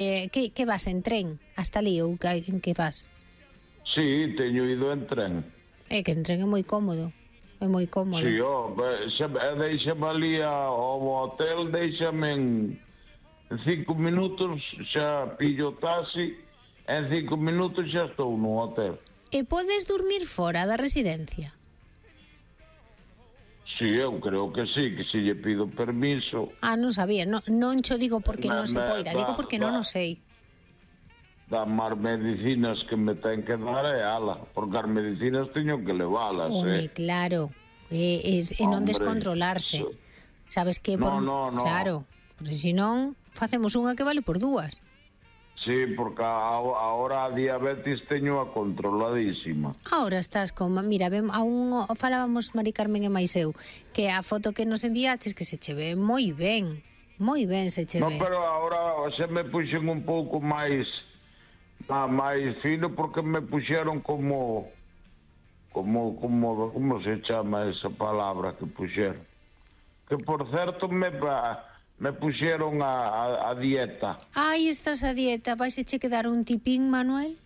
que vas en tren hasta ali ou en que vas? Sí, teño ido en tren. É que en tren é moi cómodo. É moi cómodo. Sí, déixame ali ao hotel, déixame en 5 minutos, xa pillo taxi, en 5 minutos xa estou no hotel. E podes dormir fora da residencia? Sí, eu creo que sí, que se lle pido permiso. Non sabía, non cho digo porque non se poida, digo porque non o sei. Das máis medicinas que me ten que dar é ala, porque as medicinas teño que leválas, claro, e non descontrolarse. Sabes que... No. Claro, porque senón facemos unha que vale por dúas. Sí, porque agora a diabetes teño a controladísima. Ahora estás con... Mira, aún falábamos Mari Carmen e máis eu, que a foto que nos enviaches que se che ve moi ben se che ve. No, pero agora se me puxen un pouco máis fino porque me puxeron como se chama esa palabra que puxeron? Que por certo me puxeron a dieta. Estás a dieta. Vais che quedar un tipín, Manuel?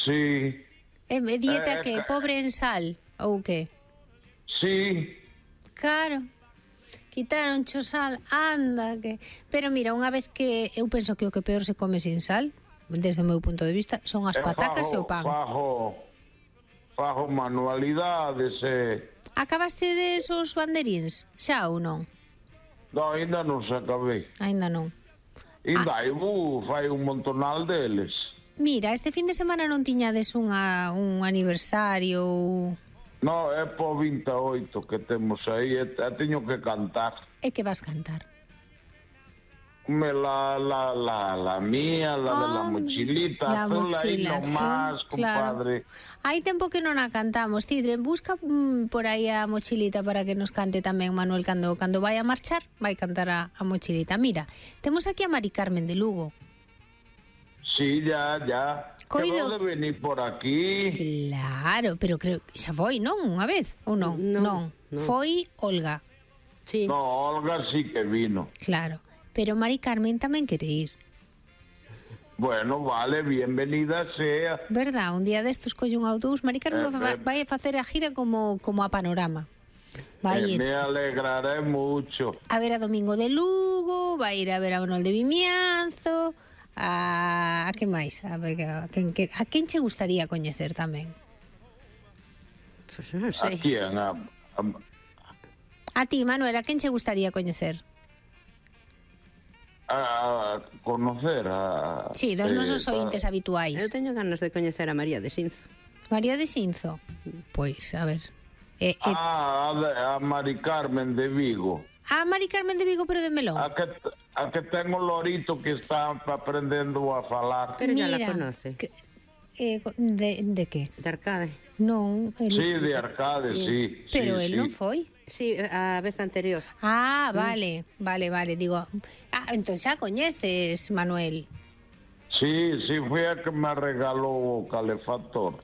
Sí. Dieta que pobre en sal, ou que? Sí. Claro. Quitaron cho sal, anda que... Pero mira, unha vez que eu penso que o que peor se come sin sal, desde o meu punto de vista, son as patacas e o pan. Fajo manualidades Acabaste desos banderíns, xa ou non? No, ainda non se acabei. Ainda non. Fai un montonal deles. Mira, este fin de semana non tiñades un aniversario... No, é po 28 que temos aí, teño que cantar. E que vas cantar? La mía, la de la mochilita, la mochila, aí nomás, compadre. Claro. Hai tempo que non a cantamos, Tidre, busca por aí a mochilita para que nos cante tamén Manuel cando vai a marchar, vai cantar a mochilita. Mira, temos aquí a Mari Carmen de Lugo. Sí, ya. Quedou de venir por aquí. Claro, pero creo que xa foi, non? Unha vez, ou non? Non. Foi Olga. Sí. No, Olga sí que vino. Claro. Pero Mari Carmen tamén quere ir. Bueno, vale, bienvenida sea. Verdad, un día destos colle un autobús. Mari Carmen vai a facer a gira como a Panorama. Vai ir. Me alegraré mucho. A ver a Domingo de Lugo, vai ir a ver a Manuel de Vimianzo, a que máis? A quen che gustaría coñecer tamén? Pues non sei. A quién? A ti, Manuel, a quen che gustaría coñecer? A conocer Sí, dos nosos ointes habituais. Eu teño ganas de coñecer a María de Sinzo. María de Sinzo? Pois, a ver. A Mari Carmen de Vigo. A Mari Carmen de Vigo, pero de Melón. A que ten o lorito que está aprendendo a falar. Pero ya la conoce. De que? De Arcade. Non. Sí, de Arcade, sí. Pero sí, él non foi. Sí, a vez anterior. Vale. Digo, entón xa coñeces, Manuel. Sí, foi a que me regalou o calefactor.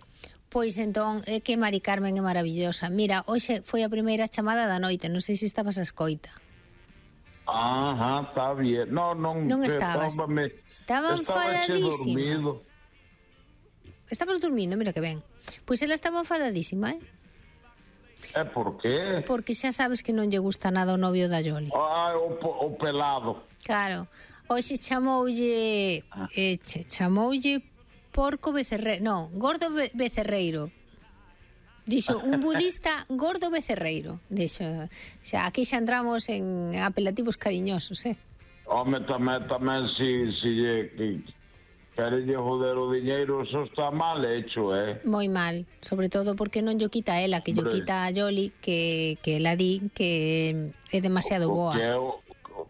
Pois entón, é que Mari Carmen é maravillosa. Mira, hoxe foi a primeira chamada da noite, non sei se estabas a escoita. Está bien. Non estabas. Estaba enfadadísima. Estabas dormindo, mira que ben. Pois ela estaba enfadadísima, por qué? Porque xa sabes que non lle gusta nada o novio da Yoli. O pelado. Claro. Hoxe chamoulle porco becerreiro. Non, gordo becerreiro. Dixo, un budista gordo becerreiro. Dixo, xa, aquí xa entramos en apelativos cariñosos, Home, tamén si querelle joder o diñeiro, eso está mal hecho, Moi mal, sobre todo porque non llo quita ela, que llo quita a Yoli, que ela di que é demasiado boa.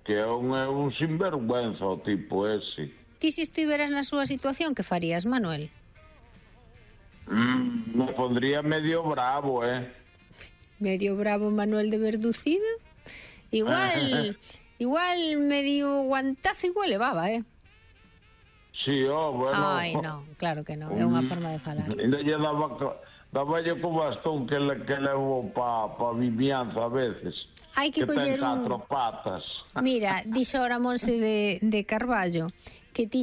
Que é un sinvergüenza o tipo ese. Ti se estiveras na súa situación, que farías, Manuel? Me pondría medio bravo, Medio bravo Manuel de Verducido? Igual medio guantazo igual levaba, Sí, bueno. Ai, non, claro que non, é unha forma de falar. Ainda lle daba co bastón que levo pa Vimianzo a veces. Hai que coller ten 4 patas. Mira, dixo ora Monse de Carballo que